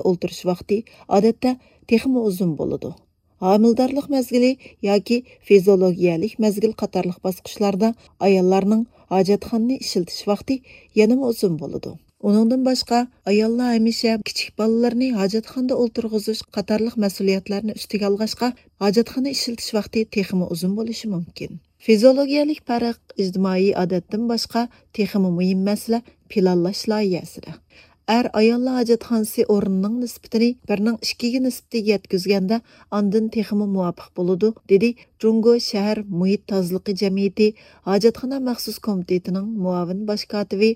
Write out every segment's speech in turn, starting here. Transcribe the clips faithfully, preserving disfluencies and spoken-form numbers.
ئولتۇرۇش ۋاقتى ئادەتتە تېخىمۇ ئۇزۇن بولىدۇ. ھامىلىدارلىق مەزگىلى ياكى فىزىولوگىيەلىك مەزگىل قاتارلىق باسقۇچلاردا ئاياللارنىڭ ھاجەتخانىنى ئىشلىتىش ۋاقتى يەنىمۇ ئۇزۇن بولىدۇ. ئۇنىڭدىن باشقا، ئاياللار ھەمىشە كىچىك بالىلىرىنى ھاجەتخانىدا ئولتۇرغۇزۇش قاتارلىق مەسئۇلىيەتلەرنى ئۈستىگە ئالغاچقا، ھاجەتخانا ئىشلىتىش ۋاقتى تېخىمۇ ئۇزۇن بولۇشى مۇمكىن. فىزىولوگىيەلىك پەرق ئىجتىمائىي ئادەتتىن باشقا تېخىمۇ مۇھىم مەسىلە پىلانلاش لايىھەسىدە. ئەر ئاياللار ھاجەتخانىسى ئورنىنىڭ نىسبىتىنى بىرنىڭ ئىككىگە نىسبىتىگە يەتكۈزگەندە، ئاندىن تېخىمۇ مۇۋاپىق بولىدۇ، دېدى جۇڭگو شەھەر مۇھىت تازىلىقى جەمئىيىتى ھاجەتخانا مەخسۇس كومىتېتىنىڭ مۇئاۋىن باش كاتىپى،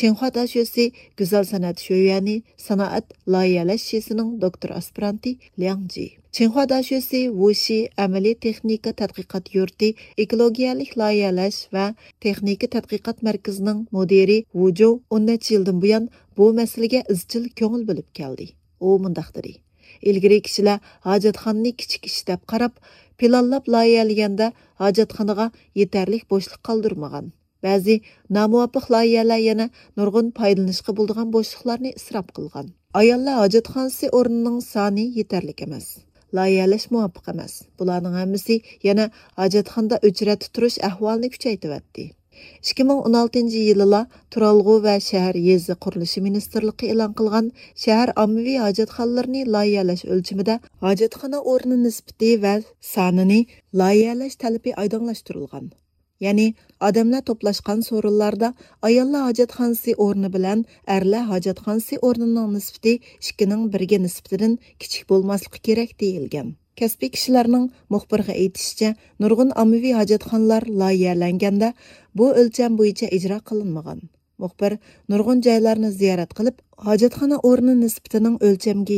چىڭخۇا داشۆسى گۈزەل سەنئەت شۆيۈەنى سانائەت لايىھەلەش شىسىنىڭ دوكتور ئاسپىرانتى لياڭ جى. چىڭخۇا داشۆسى ۋۇشى ئەمەلىي تېخنىكا تەتقىقات يۇرتى ئېكولوگىيەلىك لايىھەلەش ۋە تېخنىكا تەتقىقات مەركىزىنىڭ مۇدىرى ۋۇ جۇ ئون نەچچە يىلدىن بۇيان بۇ مەسىلىگە ئىزچىل كۆڭۈل بۆلۈپ كەلدى. ئۇ مۇنداق دېدى: «ئىلگىرى كىشىلەر ھاجەتخانىنى كىچىك ئىش دەپ قاراپ، پىلانلاپ لايىھەلىگەندە ھاجەتخانىغا يېتەرلىك بوشلۇق قالدۇرمىغان. بەزى نامۇۋاپىق لايىھەلەر يەنە نۇرغۇن پايدىلىنىشقا بولىدىغان بوشلۇقلارنى ئىسراپ قىلغان. ئاياللار ھاجەتخانىسى ئورنىنىڭ سانى يېتەرلىك ئەمەس. لايىھەلەش مۇۋاپىق ئەمەس. بۇلارنىڭ ھەممىسى يەنە ھاجەتخانىدا ئۆچرەتتە تۇرۇش ئەھۋالىنى كۈچەيتىۋەتتى.» ئىككى مىڭ ئون ئالتىنچى يىلىلا تۇرالغۇ ۋە شەھەر يېزا قۇرۇلۇشى مىنىستىرلىقى ئېلان قىلغان شەھەر ئاممىۋى ھاجەتخانىلىرىنى لايىھەلەش ئۆلچىمىدە ھاجەتخانا ئورنى نىسبىتى ۋە سانىنى لايىھەلەش تەلىپى ئايدىڭلاشتۇرۇلغان. يەنى ئادەملەر توپلاشقان سورۇنلاردا ئاياللار ھاجەتخانىسى ئورنى بىلەن ئەرلەر ھاجەتخانىسى ئورنىنىڭ نىسبىتى ئىككىنىڭ بىرگە نىسبىتىدىن كىچىك بولماسلىقى كېرەك، دېيىلگەن. كەسپىي كىشىلەرنىڭ مۇخبىرغا ئېيتىشىچە، نۇرغۇن ئاممىۋى ھاجەتخانىلار لايىھەلەنگەندە بۇ ئۆلچەم بويىچە ئىجرا قىلىنمىغان. مۇخبىر نۇرغۇن جايلارنى زىيارەت قىلىپ، ھاجەتخانا ئورنى نىسبىتىنىڭ ئۆلچەمگە